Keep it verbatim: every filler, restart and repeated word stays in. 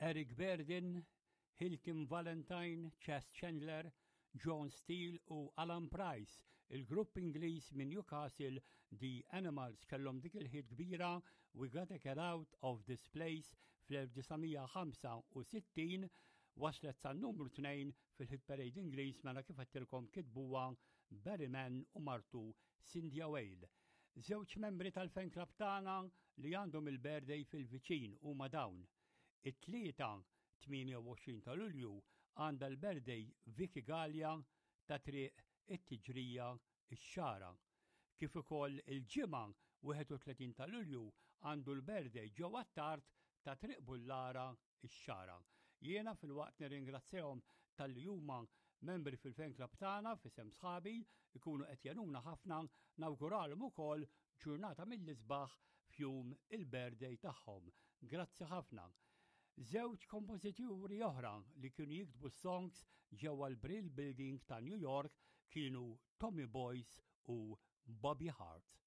Eric Burdon, Hilton Valentine, Chas Chandler, John Steele u Alan Price. Il-grupp Ingliż minn Newcastle, The Animals, kellhom dik il-hit kbira "We Gotta Get Out of This Place" fl-elf disa' mija ħamsa u sittin, waslet sa numru tnejn fil-hit parade Ingliż. Mela kif għedtilkom, kitbuha Barry Mann u martu Cynthia Weil. Żewġ membri tal-fan club tagħna li għandhom il-birthday fil-viċin huma dawn. It-Tlieta tmienja u għoxrin ta' Lulju għandha l-birthday Vicky Gallia ta' Triq it-Tiġrija, ix-Xagħra. Kif ukoll il-Ġimgħa wieħed u tletin ta' Lulju għandu l-birthday Joe Attard ta' Triq Bullara, ix-Xagħra. Jiena filwaqt nirringrazzjahom talli huma membri fil-fan club tagħna, f'isem sħabi ikunu qed jgħinuna ħafna, nawguralhom ukoll ġurnata mill-isbaħ f'jum il-birthday tagħhom. Grazzi ħafna. Żewġ kompożituri oħra li kienu jiktbu songs ġewwa l-Brill Building ta' New York kienu Tommy Boyce u Bobby Hart.